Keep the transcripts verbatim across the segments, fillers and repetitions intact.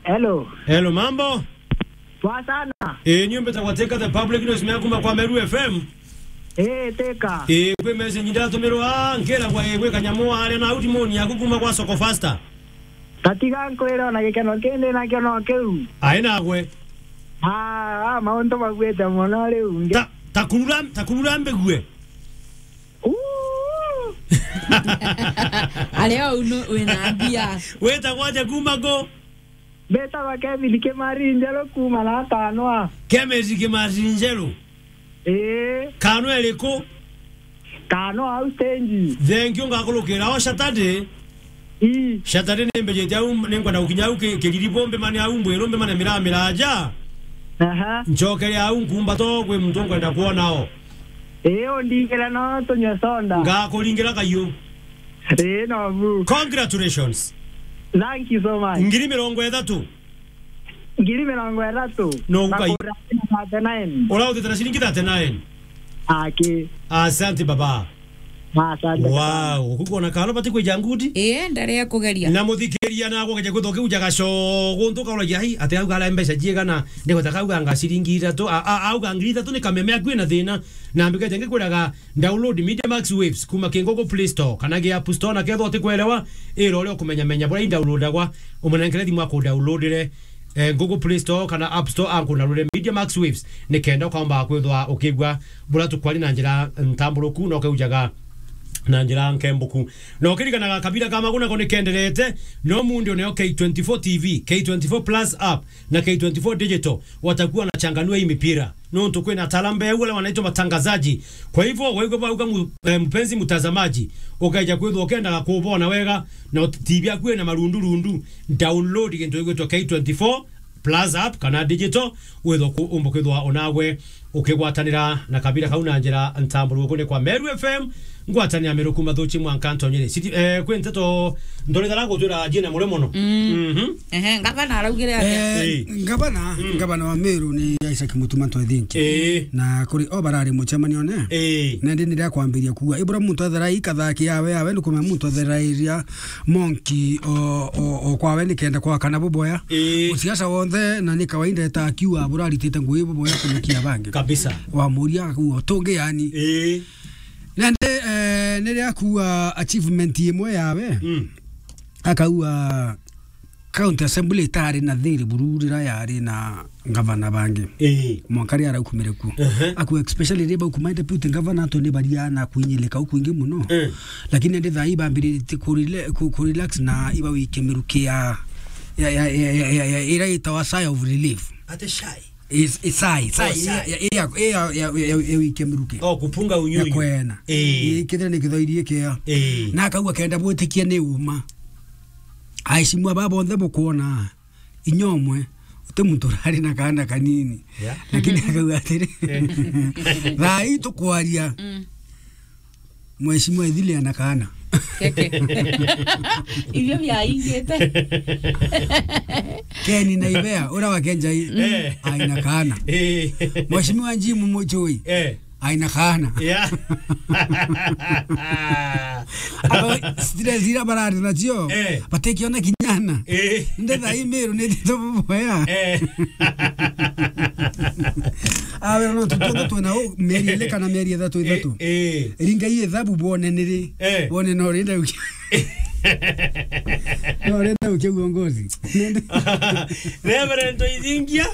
Hello. Hello, mambo? Poa sana. Eh, nyumba za Wateka the public news mea kuma kwa Meru F M. Eh, teka. Eh, kwi message ndatumirwa, nkera kwa, eh, gwi kanyamu aria na utimoni yaku kuma kwa Soko Faster. Tatiga nkwire ona gikeno kindi nakio no kiu. Ai nagwe. Ah, ah, mauntu magwite mono riu. Nge- Ta, takurura, takurura mbigue. Uu. Ari o unu wina mbia. Witagwa atia kuma ku? Mbitagwa Kevin Kimari Njeru kuma na Kanwa. Kevin Kimari Njeru? Ii. Kanwa iriku? Kanwa au stage. Thengiu ngakurukira o Saturday. Ii. Saturday ni mbijite au, ni nkwenda gukinya au ki-, Kiriri bombe mane au mbwiru mbe mane miramira aja. Aha. Ncokere au nkumba to kwi muntu nkwenda kwona o. Ii, undingire no tunywe soda. Ngakuringira kayu. Ii, no bu. Congratulations. Thank you so much. Ngiri mirongo ithatu. Ngiri mirongo ithatu. No, ukai- Bakura thirty-nine. Urautite na ciringi thirty-nine. Aki. Asante baba. Asante sana. Wow, ukugona kalo bati kwija ngudi? Ii, ndarea kugeria. Na muthikiria na gwakeja kwithwa kiu jagaco guntu kauragia, "Ai, ati auga ara mbeca jiigana?" Ndigweta kauga anga ciringi ithatu, a, a, auga ngiri ithatu ni kameme aku ina thina. Na mbikete ngikwiraga download Media Max Waves kuma ki Google Play Store kana ki App Store, na kethwa utikwelewa, ira uria ukumenyamenya buria i downloadagwa, umunengere thimu aku downloadire, eh, Google Play Store kana App Store, anku downloadire Media Max Waves, nikenda ukaomba kwithwa ukigua buria tukwari na njira ntamburuku na ukeujaga na njira nkembuku. Na ukiririkanaga kabira ka Maguna ko nikenderete, no mundu neo K twenty-four T V, K twenty-four Plus app na K twenty-four Digital watakuwa wanachanganua hii mipira. Nontu kwina talamba ya wale wanaitwa matangazaji. Kwa hivyo, waigua bauga mu-, eh, mpenzi mtazamaji, ukaija kwithwa ukendaga kubona wega na T V yaku ina marundu rundu, download gintu gigwitwa K twenty-four Plus app kana digital, withwa ku-, umba kwithwa onagwe ukigwatanira na kabira kau na njira ntamburu kune kwa Meru F M, ngwatanira Meru kuma Thuchi mwanka Ntonyere. City, eh, kwi nteto ndorithara gutwira jina mure mono. Mm. Mhm. Ehe, ngavana araugire atia? Eh, eh. Ngavana, mm, ngavana wa Meru ni Isaac Mutuma Ntwethinki. Eh. Na kuri o barari mucemanione. Eh. Na ndi niria kwambiria kuuga. Ibura muntu athera ikathakia yawe, yawe ni kumenya muntu atherairia monki o, o, o kwawe ni kenda kwa kana buboya. Eh. Musiasa wonthe na ni kawaida eta akiuga bura aritite ngui buboya kunukia bangi. Kabisa. Wa muria kuo tungi yani. Eh. Na ndi, eh, niria kuuga achievement imwe yawe. Mm. Akauga County Assembly itari na thiri buru riria yari na ngavana bangi. Ii. Mwanka riria araukumire kuo. Ehe. Aku especially riria baukuma deputy governor antu ni baria na kwinyilika ukwingi muno. Eh. Lakini ndi thaa ii bambiritie ku rela-, ku, ku relax na iba wike miruki ya, ya, ya, ira itawa sigh of relief. Ate shai. Is, is sigh, sigh, oh, sigh. Ya, ya, ya, ya, ya, ya, ya wike miruki. Oh, kupunga unyunyu. Ya kwena. Eh. Ii, kithira ni kithoirie kia. Eh. Na akauga kenda bwitikie ni uma. Aheshimiwa baba bonthe bukwona, inya umwe, uti muntu urari na kaana kanini. Yeah. Lakini akauga atiri, eh, thaa ii tukwaria, mm, Mheshimiwa Ithili ana kaana. Keke. Ibio biaingite. Ken na Ibea, ura wa Kenjai, eh, aina kaana. Eh. Mheshimiwa Jim Muchui. Eh. Aina kaana. Yeah. Aba stress ira barari nacio, eh, batikiona kinyana. Eh. Nde thaa ii Meru ni tito boya. Eh. Awe no tutonda twena u mieri ile kana mieri ithatu, eh, ithatu. Eh. Ringa ii ithabu bone niri. Eh. Bone no renda uki-, no renda ukia uongozi. Reverend Ntoithingia.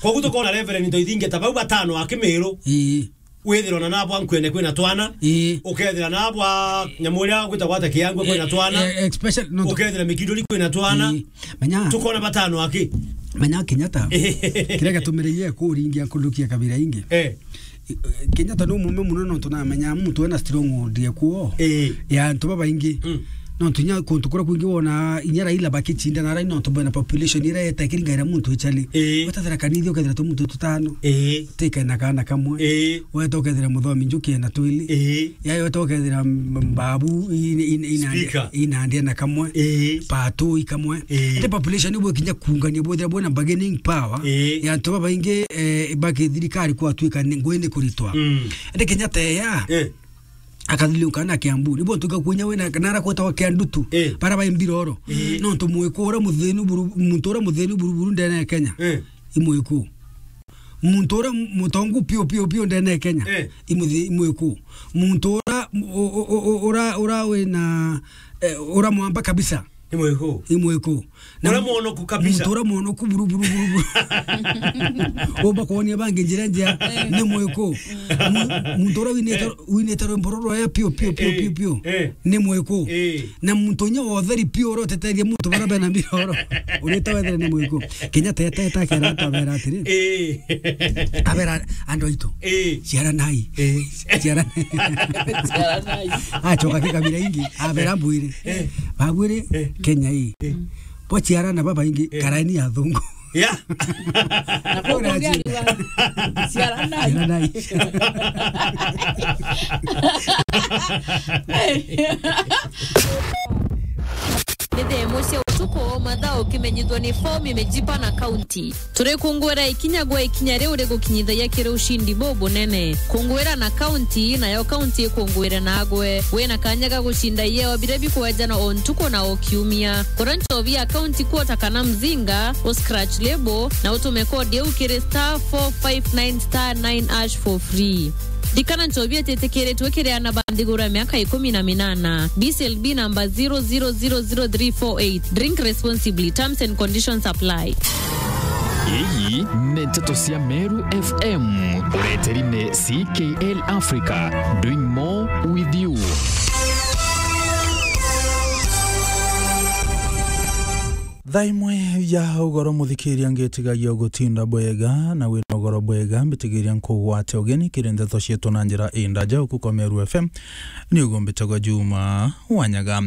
Koguo tukona Reverend Ntoithingia ta bau batano a Kimiru. Ii. Withirwa na nabwa nkwene kwina twana. Ii. Ukethira nabwa nyamu uria gwitagwa ata Kiangwe kwina twana. Eh, eh, especially no. Ukethira Mikinduri kwina twana. Ii. Menya. Tukona batano aki. Menya Kenyatta. Kiria gatumirie kuringia nkurukia kabira ingi. Eh. Kenyatta ni umume muno, nontu namenya muntu ena stronghold ya kuo, eh, ya antu babaingi. Mm. Nontu inya kuntu kuria kwingi wona inya Raila bakicindana, Raila nontu bwena population iria yeta ikiringaira muntu ichali. Eh. Weta Tharaka Nithi ukethira tu muntu tutano. Eh. Tika ena kaana kamwe. Eh. Weta ukethira Muthomi Njuki ena twili. Eh. Ya weta ukethira M-, Mbabu in-, in-, ina-, speaker, ina ndia na kamwe. Eh. Pato ikamwe. Eh. Ete population ibu ikinya kuungania bwethira bwena bargaining power. Eh. Ya antu babaingi, eh, baki thirikari kwatuika ni ngui ni kuritwa. Mm. Ende Kenyatta eya. Eh. Akathiliuka na Kiambu. Ni bo tuka kunya wena, nara kwetagwa Kiandutu. Eh. Bara ba Mbiroro. Eh. No ntu mwiku ura muthinu buru-, muntu ura muthinu buruburu ndene ya Kenya. Eh. I mwiku. Muntu ura mutongu piu, piu, piu ndene ya Kenya. Eh. I muthi-, i mwiku. Muntu ura, u-, u-, u-, u-, ura, ura wina, eh, ura mwamba kabisa. I mwiku. I mwiku. Na ura mu-, mwonoku kabisa. Muntu ura mwonoku buru, buru, buru, buru. Umba kwonia bangi njira njia, eh, ni mwiku. Mu-, muntu ura winite, eh, winite rwimbo ruru rwa piu, piu, piu, eh, piu, piu, eh, ni mwiku. Eh. Na muntu unya wa utheri piu ura uteteria muntu bara bena mbiroro. Urita wethire ni mwiku. Kenya tete takera twabera atiri. Eh. Abera andu aitu. Eh. Ciaranai. Eh. Ciaranai. Ciaranai. Acoka kikabira ingi. Abera mbwire. Eh. Babwire, eh, Kenya ii. Eh. Bwaciarana babaingi, eh, karaini ya thungu. Yeah. Na kuu kungi ariuga, ciaranai. Ciaranai. Ni thaa imwe cia utuku, mathaa ukimenyithwa ni fomu imejipa na kaunti. Turikunguira ikinya gwa ikinya riu rigukinyithagia kiri ushindi bubunene. Kunguira na kaunti, nayo kaunti ikunguire nagwe. Wina kanya ga gucinda ieo biria bikwejanwa o ntuku na o kiumia. Kura nchobi ya kaunti kuota kana mzinga, u scratch label, na utume kodi iu kiri star four five nine star nine hash for free. Ndikana nchobi ititikiritwe kiri ana ba nthiguru ya miaka ikumi na minana. B C L B number zero zero zero zero three four eight. Drink responsibly. Terms and conditions apply. Iyi ni nteto cia Meru F M. Ureteri ni C K L Africa. Doing more with you. Thaa imwe ya ugoro, muthikiria, ngitigagia ugutinda bwega na wina ugoro bwega, mbitigiria nkugwate ugeni kiri nteto cietu na njira indaja uku kwa Meru F M. Ni ugumbitagwa Juma Wanyaga.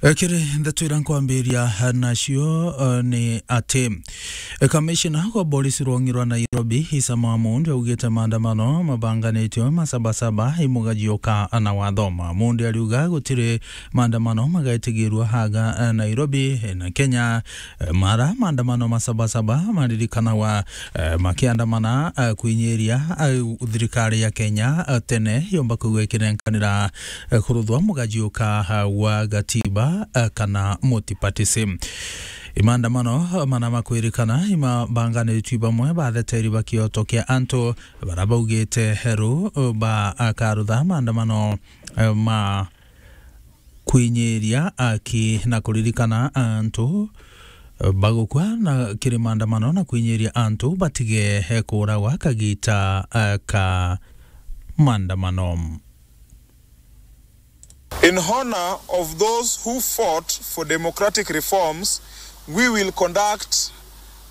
E, kiri ndeto iria nkwambiria nacio, e, ni ati, e, kamishina wa borisi rwongi rwa Nairobi, Isa Mamundi, augite maandamano mabanganitwe ma Sabasaba imugajiuka na watho. Mamundi ariuga gutiri maandamano magaitigirua haga, eh, Nairobi, eh, na Kenya. Eh, mara maandamano ma Sabasaba maririkanagwa, eh, makiandamana, eh, kwinyiria, eh, thirikari ya Kenya, eh, tene yomba kwigua ikinenkanira, eh, kuruthwa mugajiuka, eh, wa gatiba, eh, kana multipartyism. Imaandamano, eh, mana makwirikana imabanganitwi bamwe batheteri ba kioto kia antu, bara baugite heru, eh, ba akarutha maandamano, eh, ma kwinyiria aki na kuririkana antu bagukua na kiri maandamano na kwinyiria antu batige kuragwa kagita, eh, ka maandamano. In honor of those who fought for democratic reforms, we will conduct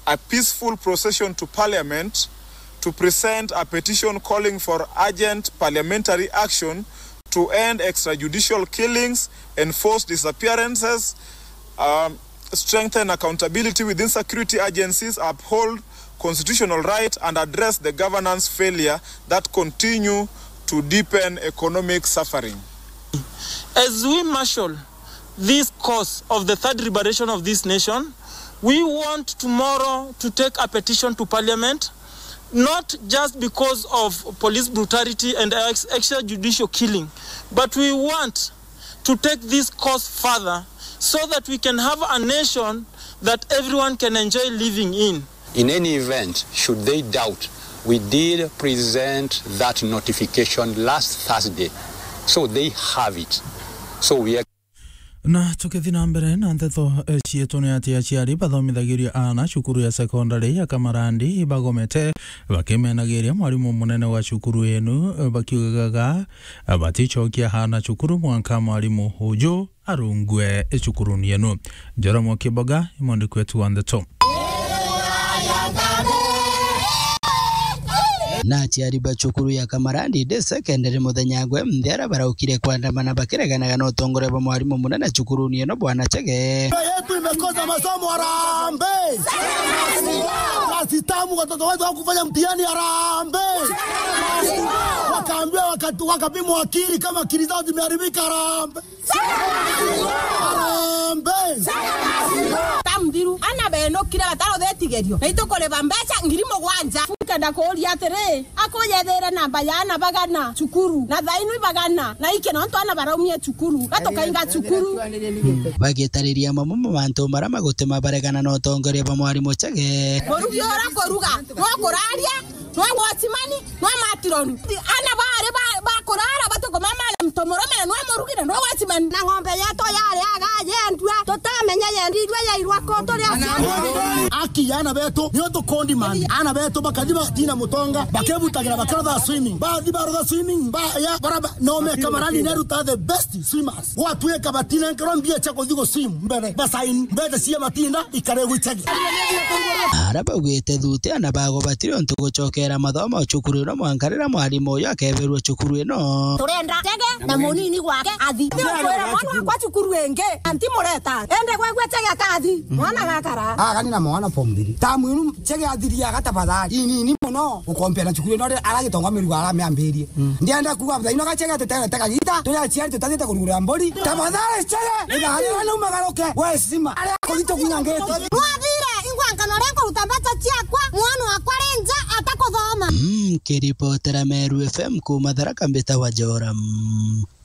a peaceful procession to Parliament to present a petition calling for urgent parliamentary action to end extrajudicial killings, enforce disappearances, um, strengthen accountability within security agencies, uphold constitutional right, and address the governance failure that continue to deepen economic suffering. As we marshal this cause of the third liberation of this nation, we want tomorrow to take a petition to Parliament, not just because of police brutality and ex-, extrajudicial killing, but we want to take this cause further so that we can have a nation that everyone can enjoy living in. In any event, should they doubt, we did present that notification last Thursday, so they have it. So we are Na tukithi na mbere na nteto, eh, cietu, ni ati aciari bathomithagiria aana cukuru ya sekondari ya Kamarandi ibagomete, bakimenagiria mwarimu munene wa cukuru yenu, eh, bakiugaga, eh, baticokia aana cukuru mwanka mwarimu uju arungue cukuruni yenu. Njoromo Kiboga, imwandiki wetu wa nteto. Na aciari ba cukuru ya Kamarandi Day Secondary muthenya gwe nthera baraukire kwandamana bakireganaga na utongoria bwa mwarimu munene cukuruni ino, Bwana Chege. Yetu imekosa masomo, harambee! Kazi tamu, watoto wetu hawakufanya mtihani, harambee! Wakaambiwa wakatu-, wakapimwa akili kama akili zao zimeharibika, harambee! Harambee! Tamthiru, ana benukire batarutha itigerio, na itukuriba mbeca ngiri mugwanja. Ndenda kuuria atiri, akuyethire namba ya ana bagana cukuru, na thainu ibagana, na iki nontu ana baraumie cukuru, gatukainga cukuru. Bagitariria mamwe ma mantu maria magutima baregana na utongoria bwa mwarimu Chege. Murugi ura kuruga, no kuraria, no watchman, no matron. Ana bari ba, ba kurara, batukuma mara mtomoromera, no murugi na no watchman. Na ng'ombe yetu yari aga yendua, tutamenye yendirwe yairwa ku turi aciari. Aki ya ana betu, niyo tukondi mani. Ana betu bakathi bagatina mutonga, bakebutagira bakarotha swimming. Bathi barotha swimming, ba, ya, baraba, no meka marani neruta the best swimmers. Gwatuika batinenkerwa mbia cia kuthi gu swim mbere, basain, mbete cia matinda, ikare gwichagi. Ara baugite thuti ana bago batiri untu gucokera mathomo cukuru ino mwanka riria mwarimu uyu akeberua cukuru ino. Turenda Chege na munini gwake athi. Kwira mwana wakwa cukuru ingi, anti mureta. Ende gwegwe Chege akathi, mwana gakara. Agani na mwana form three. Tamu inu Chege athiria gatabathari. Inini muno, ukompea na cukuru ino ri-, aragitonga mirugo aramiambirie. Ndienda kuuga muthaino ga Chege tuterete kagita, turi aciari tutathiite kurugurira mburi. Tafadhali Chege, iga haria na umagaruke, we sima. Aria akuthito kinya ngete. Nwathire, ingwa nkano ria kuruta mbeca ciakwa, mwana wakwa ri nja atakuthoma. Mm, kiripotera Meru F M kuuma Tharaka mbita wa Joram.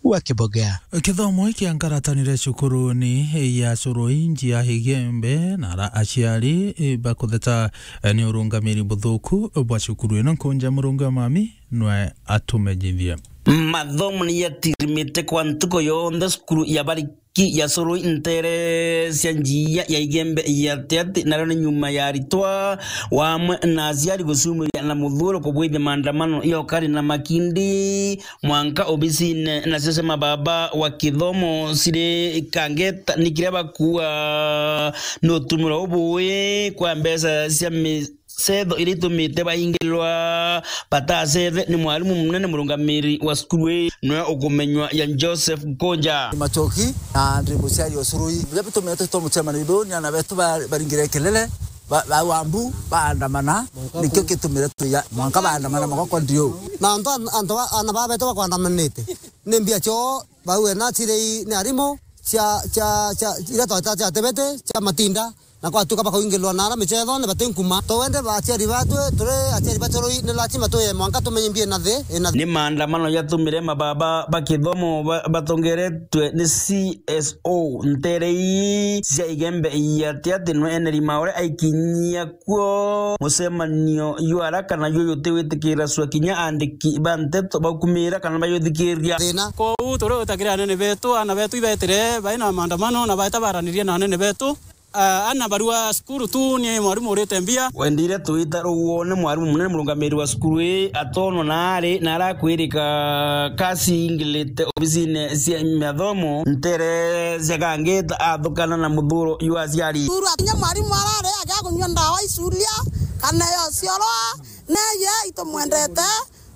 Wa Kibogea. Kithomo giki ankaratanire cukuruni ya Surui nji ya Igembe, na ara aciari, eh, bakutheta, eh, ni urungamiri buthuku bwa cukuru ino. Nkunja Murungu wa Mami nwe atumenyithie. Mathomo ni yatirimite kwa ntuku yonthe cukuru ya Bariki ya Surui ntere cia njia ya Igembe ya Tiati, nario ni nyuma ya aritwa wamwe na aciari gucumiria na muthuro kubwithia maandamano ya ukari na makindi mwanka obisine nacio cia mababa wa kithomo ciri Kangeta, ni kiria bakua ni utumiro ubui kwa mbeca cia mi-, cetho iria itumite baingilwa batacethe ni mwarimu munene murungamiri wa cukuru ii, niwe ukumenywa ya Joseph Nkunja. Machoki na ndi muciari o Surui. Biria bitumite tumucemania biu ni ana betu ba-, baringire kelele, ba-, ba wambu, baandamana, nikio gitumire tuya mwanka baandamana magoko ndio. Na antu an-, antu ba-, ana baba betu bakwandamanite, ni mbia cio bau ena ciri ni arimu cia, cia, cia, iria tweta cia tebete, cia matinda, na kwatuika bakaingilwa na ara micethone bati nkuma. Twende ba aciari batwe, turi aciari ba Surui, ni lazima tuye mwanka tumenye mbia ina thi, ina thi. Ni maandamano yatumire mababa ba kithomo ba-, batongeretwe ni C S O ntere ii cia Igembe ya Tiati, nwe Henry Maore aikinyia kuo mucemanio jwa ara kana juu jutiwitikira cua kinya andiki ba nteto baukumira kana bayuthikiria. Thina. Kwou turi utakira anene betu, ana betu ibetire bai na maandamano na baeta baranirie na anene betu. Ah, ana barua cukuru tu ni mwarimu urite mbia. Wendire twita ruguo ni mwarimu munene murungamiri wa cukuru ii atonwa na ari na arakwirika kasi ingilite obisine cia mathomo ntere cia Kangeta athukana na muthuro jwa aciari. Thuru akinya mwarimu arare agia kunyua ndawa icuria kana yo ciorwa, neye itumwendete,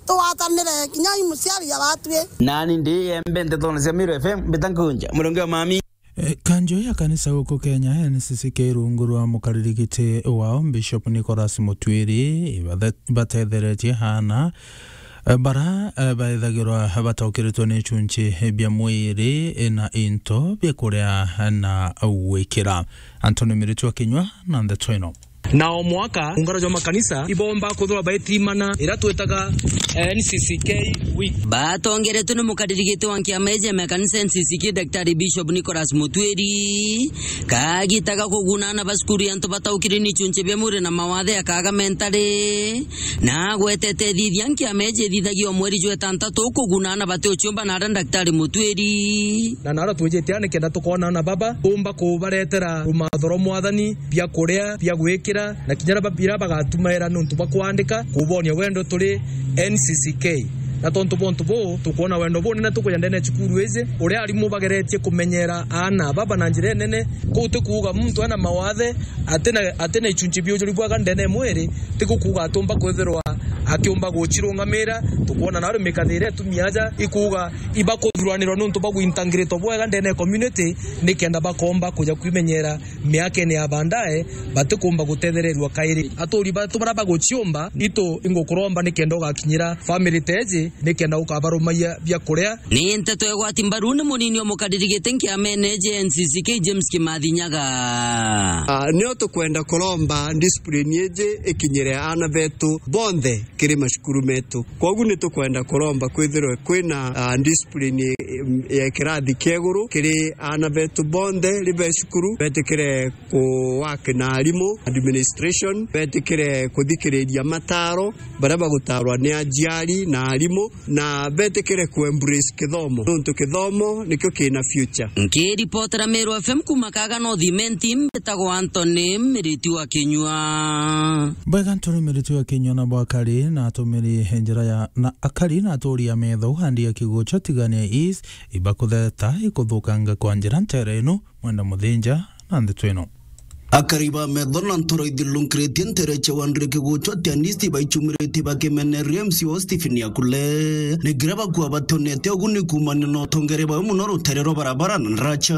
tugwatanire kinya i muciari aratwi. Nani ndi yembe ntetone cia Miru F M, mbita Nkunja, Murungi wa Mami. Eh, kanjo ya kanisa guku Kenya, N C C K, rungu rwa mukaririgiti wao, Bishop Nicholas Mutwiri, ibathe-, ibatetheretie haana, eh, bara, eh, baethagirwa bataukiritwe ni ichunchi bia mwiri, eh, na into bia kuria na gwikira. Anthony Miritu akinywa na ndeto ino. Na o mwaka, ungano jwa makanisa ibomba kuthura baitimana iria twitaga, eh, N C C K Week. Batongeretwe ni mukaririgiti wa nkiama iji ya makanisa N C C K, Daktari Bishop Nicholas Mutwiri, kagita ga kuguna ana ba cukuru ya antu bataukire ni ichunchi bia mwiri na mawathe ya Kagame ntari, na agwetete ithithia nkiama iji ithithagia o mweri jwa itantatu kuguna ana bati uciumba na ara Daktari Mutwiri. Na nara twijite nikenda tukoona ana baba, tumba kubaretera rumatho rwa Mwathani, bia kuria, bia gwikira, na kinya ra-, biria bagatumaira niuntu bwa kwandika, kubonia wendo turi N C C K. Na tontu bwa untu buu, tukwona wendo bunene tukuja ndene ya cukuru iji, uria arimu bageretie kumenyera aana baba na njira inene. Kuu ti kuuga muntu ena mawathe, atina, atina ichunchi bia ujuri bwega ndene ya mwiri, ti kuuga atumba kwithirwa Akiumba gucirungamira, tukwona nario mikathire atumia aja ikuuga ibakuthuranirwa niuntu bwa gwintangirito bwega ndene ya community, nikenda bakomba kuja kwimenyera miakene ya baadaye, batikumba gutethererua kairi. Aturi batu bara baguciumba, itu ingukuromba nikenda ugakinyira family teji, nikenda ukabarumaia bia kuria. Ni nteto igwati mbaru ni munini o mukariri giti nkiamene J N C C K James Kimathi Nyaga. Ah, nio tukwenda kuromba discipline iji ikinyire aana betu bonthe kiri macukuru metu. Kwogu ni tukwenda kuromba kwithirwe kwina, ah, discipline, em, ya kirathi kia iguru kiri aana betu bonthe ribe cukuru, betikire ku work na arimu, administration, betikire kuthikiriria mataro baria bagutarwa ni aciari na arimu, na betikire ku embrace kithomo, nontu kithomo nikio kina future. Nkiripotera Meru F M kuma Kaga North Imenti, mbitagwa Anthony Miriti wa Kinyua. Bwega, Anthony Miriti wa Kinyua na bwakari na atumiri njira ya, na akari na aturi a metho andi ya Kigucho Tigania East, ibakutheta ikuthukanga kwa njira ntere ino. Mwenda Muthinja na ndeto ino. Akari ba metho na ntoro ithirungiritie ntere cia Wandire Kigucho Tigania East baicumiritie bakimeneria M C wa Stephen Akule. Ni ngira bakua batonete uguni kuumania na utongere bwao mono rutere rwa barabara na ndaraca.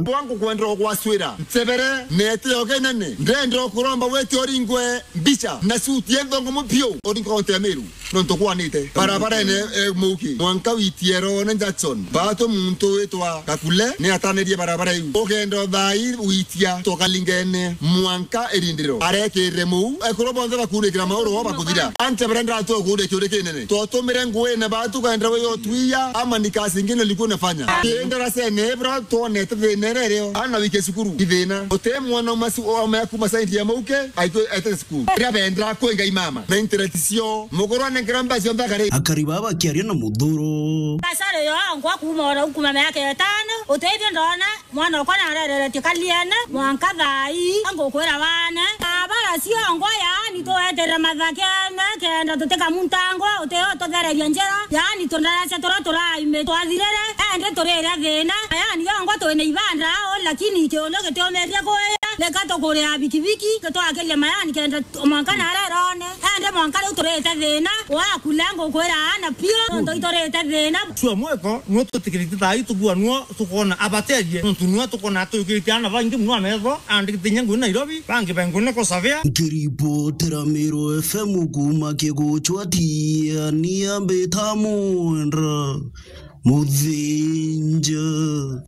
Bwangu kwenda gwaswira nsebere nete yogenene, ndenda kuromba wete uringwe mbica na suti yenthe ngumu biu, uringwe kaunti ya Meru. Nontu kwanite barabarene, eh, muki mwanka witie rone Jackson. Batu muntu witwa Kakule ni atanirie barabara iu. Ugenda uthai witia tokalingene mwanka irindiro. Arekirire muu, ekuru bonthe bakurikira mauru o bakuthira. Ante barenda tu kuria kiuri kinene. Twatumire nguine batu kaenda we yotwia, ama ni kazi ingine ulikuwa unafanya. Kienda rasene, bro, tuonete thina iria irio. Ana wike cukuru, ithina. Uti mwana umasu, ome kuma side ya mauke, aitu, aite cukuru. Ria benda kwenga imama. Na interest cio. Mukuru anenkera mbacio nthakare. Akari baba bakiaria na muthuro. Basari yo, ngwa kuma ora kuma miaka itano, utethio ndona, mwana okwa narereretio kaliene, mwanka thai, angukwira wane. Abara cio ngwa, yaani, tweterera mathakene, kenda tutika muntangwa, uteo tuthereria njira, yaani, tundaracia turia turaime, twathirire, ende turire thina, yaani, yo ngwa twina ibanda, lakini kiuno gitiumirie kuya, reka tukuria bikibiki, gitwakiria mayani, kenda mwanka narerone, ende mwanka riu turite thina, wakule ngukwira ana piu, nontu iturite thina. Cio mweko, nuo twitikirite thai tugua nuo tukona abaterie, nontu nuo tukona tuyukirite ana baingi muno ametho, andikite inya ngui Nairobi, bangi bengune kusavia. Nkiripotera Meru F M kuma Kiguchwa Tigania, mbita Mwendra Muthinja.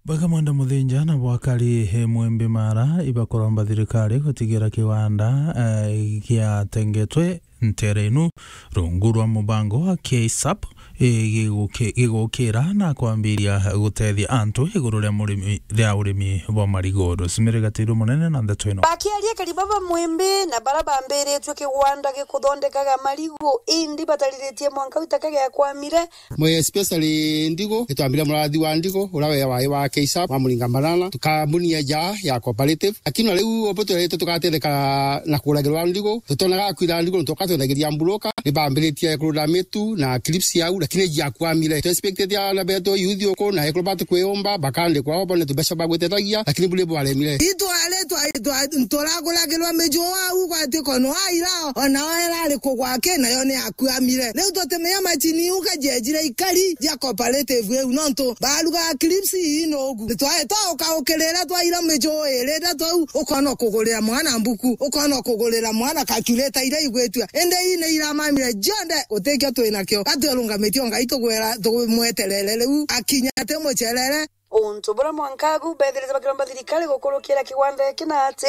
Baka Mwenda Muthinja na bwakari, he Mwembe Mara, ibakuromba thirikari gutigira kiwanda, eh, giatengetwe ntere inu rungu rwa mubango wa K sap, eh, giguki-, gigukira na kwambiria gutethia antu iguru ria murimi, ria urimi bwa marigold. Simiri Gatiru munene na ndeto ino. Bakiaria kari baba Mwembe na bara bambiritwe kigwanda gikuthondekaga marigu, indi batariritie mwanka witaka giakwamire, Mwe especially Ndigo, itwambire murathi wa Ndigo, ura we wai wa K sap, wa Muringa Banana, tukambuni ya ja ya cooperative. Lakini na riu obo twerete tugatetheka na kuragirwa Ndigo, tutonaga kwira Ndigo, tukatwendagiria mburoka, ni bambiritie kurura mitu na clips yau, lakini jiakwamire. Tu expected ya na beto youth uko, na ekuru batu kwiomba, bakandikwa obo, ni tubeca bagwetetagia, lakini buri bwaremire. Itware twa-, twa-, nturaguragirwa miju au, gwati kono aira, ona oera ari kugwake, nayo ni akuamire. Riu tutimenya macini iu kajejire ikari ja cooperative iu, nontu barugaga clips ii nugu. Twae twaukaukirira twaira miju iri ithatu au, ukona kugurira mwana mbuku, ukona kugurira mwana calculator iria igwitua. Indi ii ni iramamire jonthe, gutikio twinakio. Gatwirungamitie o Ngai tugwira, tumweterere riu akinya ati mucerere. Untu buria mwanka agu bethirite bakiromba thirikari gukurukira kigwanda giki na ati,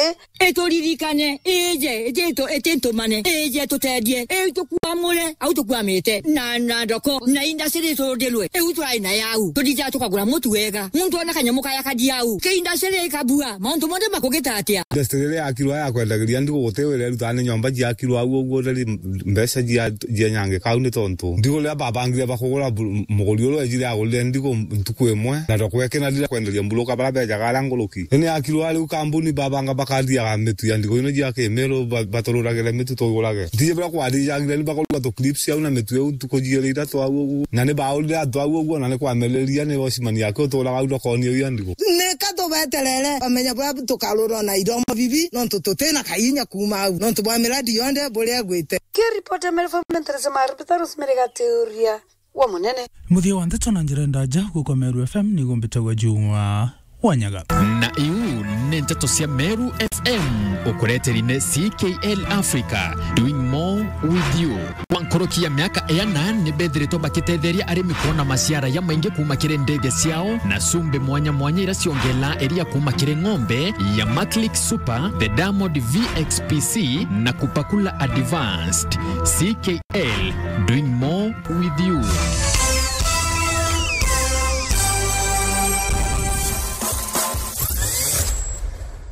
ituririkane, ije, ije itu-, iti ntumane, ije tutethie, itukuamure, au tukuamite, na, na ndoko, na industry turundirwe, iu turai nayo au, tutithiaga tukagura mutu wega, muntu ona kanyamu kaya kathi au, ki industry ikabua, mauntu monthe makugita atia? Industry iria yakirwa ya kwendagiria Ndigo guti wira irutaga ni nyomba ciakirwa au uguo, theri mbeca cia, cia nyangika au ni tontu Ndigo riria babangire bakugura bu-, muguri uria wejire agurire Ndigo ntuku imwe, na ndoko Nari ria kwenderia mburuka bara bejaga ara nguruki. Ni ni akirwa riu kambuni babanga bakathiaga mitu ya ndigo ino jia Kimiru ba-, batururagire mitu tugurage. Ntiji bira kwathijagira ni bakorwa tu clips au na mitu iu ntuku jiiri ithatu au uguo. Na ni baurire antu au uguo na ni kwameriria ni washimani yake uturaga au ndokoni iu ya ndigo. Ni ka tubeterere bamenya bwa tukarurwa na iromo bibi nontu tutina kainya kuuma au. Nontu bwa miradi yonthe buria igwite. Kiripoti ya Meru F M ntereso ma Rupita Rosemary Gaturia. Wa munene. Muthia wa nteto na njira ndaja guku Meru F M ni gumbitagwa Juma wa Nyaga. Na iu ni nteto cia Meru F M, ukureteri ni C K L Africa, doing more with you. Kwa nkuruki ya miaka iana ni bethiritwe bakitetheria arimi kuona maciara ya maingi kuuma kiri ndege ciao na cumbi mwanya mwanya ira ciongela iria kuuma kiri ng'ombe ya Maclick Super, the Diamond V X P C na Kupakula Advanced. C K L, doing more with you.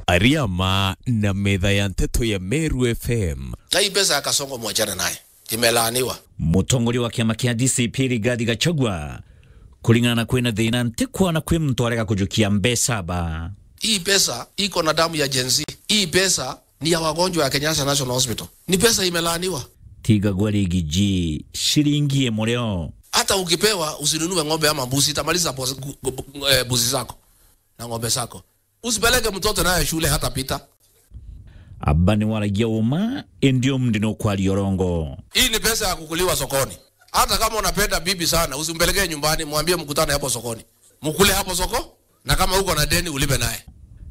Ariama na metha ya nteto ya Meru F M. Na hii pesa ya Kasongo mwachane naye. Imelaaniwa. Mutongoria wa kiama kia D C P Rigathi Gachagua, kuringana na kwina thina, ntikwona kwi muntu arega kujukia mbeca ba. Hii pesa iko na damu ya Gen Z. Hii pesa ni ya wagonjwa ya Kenyatta National Hospital. Ni pesa imelaaniwa. Tigagwa Rigiji, shilingi imwe rio. Hata ukipewa, usinunue ng'ombe ama mbuzi, itamaliza pos-, gu-, gu-, eh, mbuzi zako na ng'ombe zako. Usipeleke mtoto naye shule hata pita. Aba ni waragia uma, indi umndi ni ukwaria urongo. Hii ni pesa ya kukuliwa sokoni. Hata kama unapenda bibi sana, usimpelekee nyumbani, mwambie mkutane hapo sokoni. Mkule hapo soko. Na kama uko na deni, ulipe naye.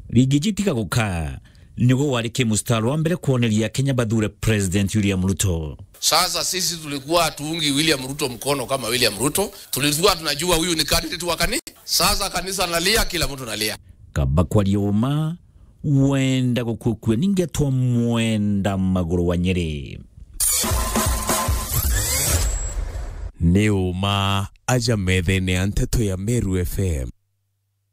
Rigiji tiga gukaa, niguo wari ki mustari wa mbere kwoneria Kenya bathure President William Ruto. Sasa sisi tulikuwa hatuungi William Ruto mkono kama William Ruto, tulikuwa tunajua huyu ni candidate wa kani-, sasa kanisa nalia, kila mtu nalia. Kaba kwaria uma, wenda gukukua ningetwa mwenda maguru wa Nyeri. Ni uma aja methene ya nteto ya Meru F M.